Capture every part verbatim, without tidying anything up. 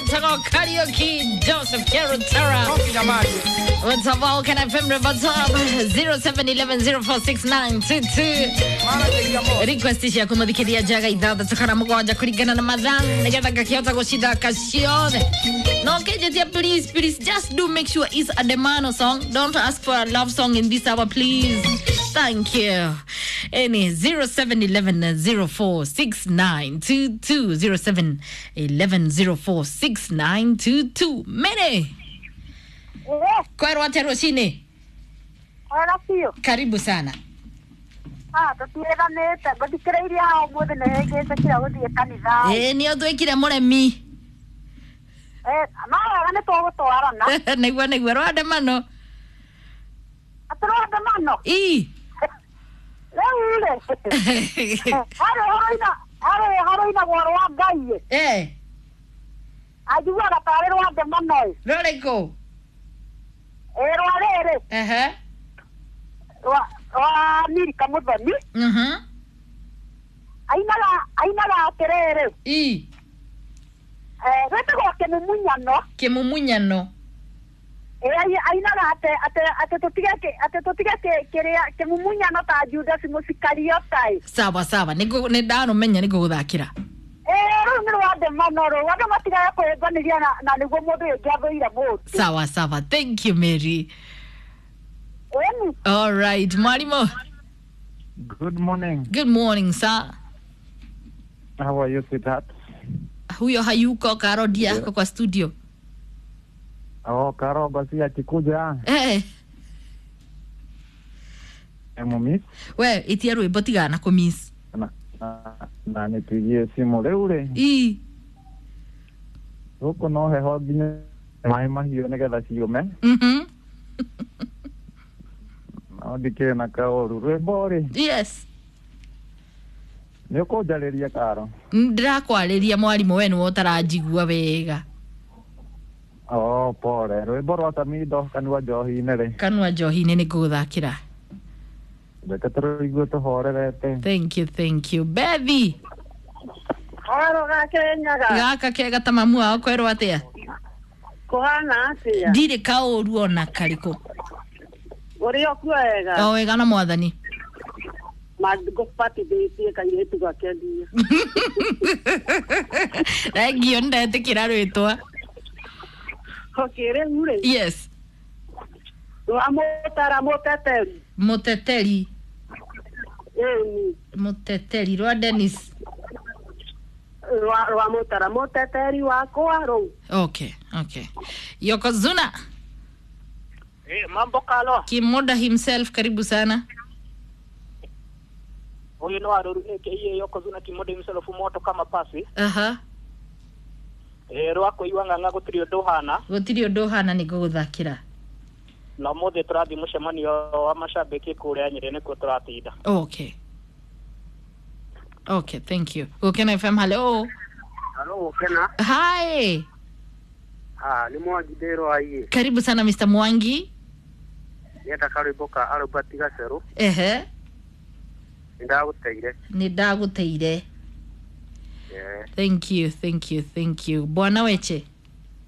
Wetagwo Kariuki Joseph Kerutera. What's up, all? Can I F M what's up? zero seven eleven zero four six nine two two. Request ciaku muthikiria njaga ithathatũ kana mũgwanja kũringana na mathaa nĩgetha ngakĩhota gũcithaka ciothe. No kĩnjĩtie, please, please just do make sure it's a Demano song. Don't ask for a love song in this hour, please. Thank you. Any zero seven eleven zero four six nine two two, zero seven eleven zero four six nine two two. Mene Eh, kwerwo atĩa rũcinĩ? Wega biũ. Karibu sana. Ah, tũtiĩranĩte ngũthikĩrĩirie haha ũmũthĩ nĩ hĩngĩte kira gũthiĩ kanitha. Ĩĩ nĩ ũtwĩkire mũremi. Eh, no wega nĩ tũgũtwarana. Nĩguo nĩguo rwandamano. Atĩ rwandamano? Ii. Rĩu rĩ, harĩ horoina harĩ horoinagwo rwa Ngai ĩ. Eh. Anjiguaga tarĩ rwandamano ĩ. Rũrĩkũ? Ĩ rwa rĩrĩ. Ehe. Rwa rwa Milka Mũthoni. Mhm. Ainaga ainaga atĩrĩrĩ. Ii. Eh, gwĩtagwo kĩmumunyano. Kĩmumunyano. Ĩ ainaga atĩ atĩ atĩ tũtige atĩ tũtige kĩrĩa kĩmumunyano ta Judas Mũsikariota ĩ. Sawa sawa, nĩ nĩ ndarũmenya nĩ ngũgũthakĩra. Ĩ rũu nĩ rwandamano rũu andũ matigage kwĩbanĩria na na nĩguo mũndũ ũyũ ũngĩathũire mũndũ. Sawa sawa, thank you Mary. Ĩni. All right, mwalimu. Good morning. Good morning, sir. How are you, sweetheart? Huyo hayuko, Karodi yako kwa studio. Oh, Karo basi akikuja. Eh. Emumiss. We, itia rwimbo tigana kũmiss. Na, na, na nipigie simu rĩu rĩ. Ii. Gũkũ no heho nginya maĩ mahiũ nĩgetha ciũme. Mhm. No ndikĩrĩ na kaũru. Rwĩmbo rĩ. Yes. Nĩ ũkũnjarĩria Karo? Ndĩrakwarĩria mwarimũ, we nĩwe ũtaranjigua wega. Oh, pole. Rwĩmbo rwa Samido kanua njohi-inĩ rĩ. Kanua njohi-inĩ nĩ ngũgũthakĩra. Reke tũrũigue tũhorerete. Thank you, thank you. Bethi. Haro gakenyaga. Gaka kega ta mamu wao kwerwo atĩa? Kũhana atĩa? Ndirĩ kaũru ona karĩkũ. Ũrĩ o kuo wega? O wega na mwathani. Ngũbatithĩtie kairĩtu gakenie. Thengio, nĩndetĩkĩra rwĩtwa. Okay, rĩu rĩ. Yes. Rwa mũtara mũteteri. Mũteteri. Ĩni. Mũteteri rwa Dennis. Rwa rwa mũtara mũteteri wakwa rũu. Okay, okay. Yokozuna. Eh, mambo Kalo. Kimoda himself, karibu sana. Huyu ni Waruru aka Yokozuna Kimoda himself, moto kama pasi. Aha. Eh, rwako iwang'ang'a gũtirĩ ũndũ ũhana. Gũtirĩ ũndũ ũhana nĩ ngũgũthakĩra. Na ũmũthĩ tũrathiĩ mũcemanio wa macambĩki kũrĩa Nyĩrĩ nĩkuo tũratinda. Okay. Okay, thank you. Gũkena F M, hello. Hello, Gũkena. Hi. Ah, nĩ Mwangi ndĩrwo aiĩ. Karibu sana Mister Mwangi. Nĩenda karwĩmbo ka Albert Gacerũ. Ehe. Nĩ ndagũteire. Nĩ ndagũteire. Yeah. Thank you, thank you, thank you. Bwana Weche.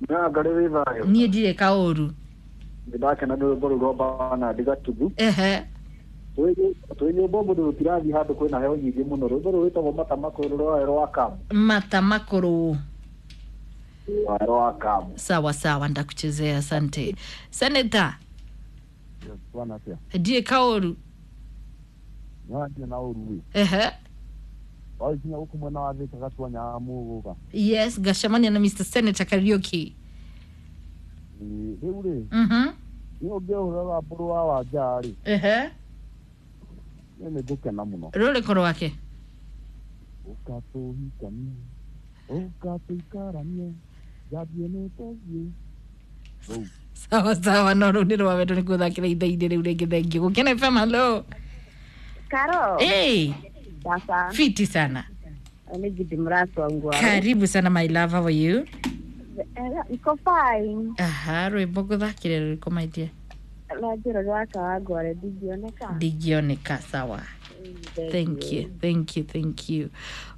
Na ngarĩ wĩ thayũ. Niĩ ndirĩ kaũru. Nĩ ndakena nĩ rwĩmbo rũu rwa Bernard Gatugu. Ehe. Twĩ nyũmba ũmũthĩ tũtirathiĩ handũ kwĩna heho nyingĩ mũno. Rwĩmbo rũu rwĩtagwo Mata Makũrũ rwa rwa Kamu. Mata Makũrũ. Rwa rwa Kamu. Sawa sawa, ndakuchezea, asante. Senator. Yes, bwana atia. Ndirĩ kaũru. Nĩ na ũru ĩ. Ehe. Wakinya gũkũ mwena wa Thika gatua nyamu gũka. Yes, ngacemania na Mister Senator Kariuki. Rĩu rĩ. Mhm. Nĩ ũngĩhũra mbũrũ wa Wanja rĩ. Ehe. Nĩ ngũkena mũno. Rũrĩkũ rwake? Ũka tũhikanie, ũka tũikaranie, njambie nĩ tũthiĩ. Rũu. Sawa sawa, no rũu nĩ rwa wendo nĩ ngũthakĩra ithaa-inĩ rĩu rĩngĩ. Thank you. Gũkena F M, hello. Karo. Hey. Sasa. Fiti sana. Nĩ Judy Mũratwa Ngwaro. Karibu sana my love, how are you? Niko fine. Aha, rwĩmbo ngũthakĩre rũrĩkũ my dear? Rwa njĩra rwa Kawangware ndingĩoneka. Ndingĩoneka, sawa. Thank you, thank you, thank you.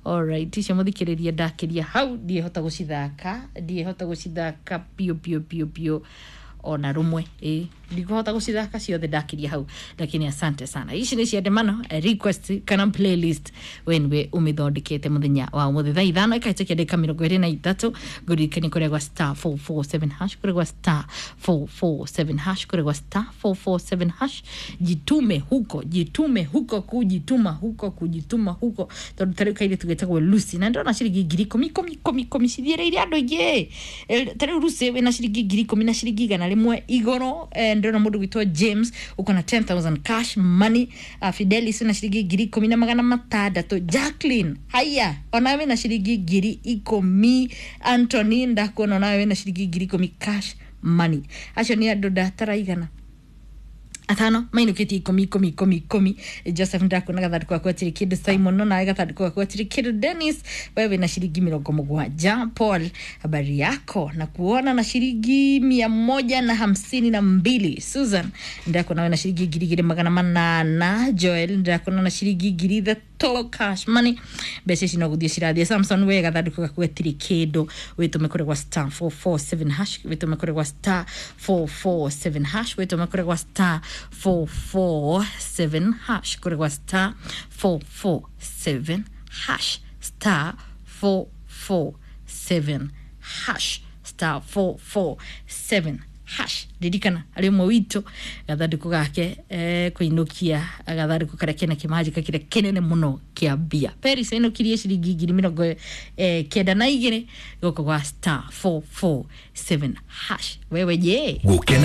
Alright, icio mũthikĩrĩria ndakĩria hau ndiĩhota gũcithaka, ndiĩhota gũcithaka biũ biũ biũ biũ ona rũmwe, ĩ ndikũhota gũcithaka ciothe ndakĩria hau, lakini asante sana. Ici nĩ cia ndemano eh, request kana playlist wenwe ũmĩthondekete mũthenya wa ũmũthĩ thaa ithano ĩkahĩtũkia ndagĩka mĩrongo ĩrĩ na ithatũ. Ngũririkanie kũrĩa gwa star four four seven hash, kũrĩa gwa star four four seven hash, kũrĩa gwa star four four seven hash. Jitume huko, jitume huko, kujituma huko, kujituma huko, tondũ ta rĩu kairĩtu getagwo Lucy na ndĩrona ciringi ngiri ikũmi ikũmi ikũmi ikũmi cithiĩrĩire andũ aingĩ. Eh, ta rĩu Lucy wĩna ciringi ngiri ikũmi na ciringi igana rĩmwe igũrũ. Eh, ndĩrona mũndũ gwĩtwo James uko na ten thousand cash money. uh, Fidelis wĩna ciringi ngiri ikũmi na magana matandatũ. Jacqueline haya onawe wĩna ciringi ngiri ikũmi. Anthony ndakuona onawe wĩna ciringi ngiri ikũmi cash money. Acio nĩ andũ ndataraigana atano mainũkĩtie ikũmi ikũmi ikũmi ikũmi. Joseph ndakuona gathandũkũ gaku gatirĩ kĩndũ. Simon no nawe gathandũkũ gaku gatirĩ kĩndũ. Dennis wewe wĩna ciringi mĩrongo mũgwanja. Paul habari yako na kuona na ciringi mia moja na hamsini na mbili. Susan ndakuona wĩna ciringi ngiri igĩrĩ magana manana. Joel ndakuona na ciringi ngiri ithatũ cash money. Mbeca ici no gũthiĩ cirathiĩ. Samson we gathandũkũ gaku gatirĩ kĩndũ, wĩtũme kũrĩ gwa star four four seven hash, wĩtũme kũrĩ gwa star four four seven hash, wĩtũme kũrĩ gwa star four four seven hash, kũrĩ gwa star four four seven hash, star four four seven hash, star four four seven hash. Ririkana arĩ ũmwe witũ gathandũkũ gake eh, kũinũkia gathandũkũ karĩa kena kĩmanjĩka kĩrĩa kĩnene mũno kĩa mbia. Paris ainũkirie ciringi ngiri mĩrongo eh, kenda na igĩrĩ gũkũ gwa star four four seven hash. Wewe je? Gukena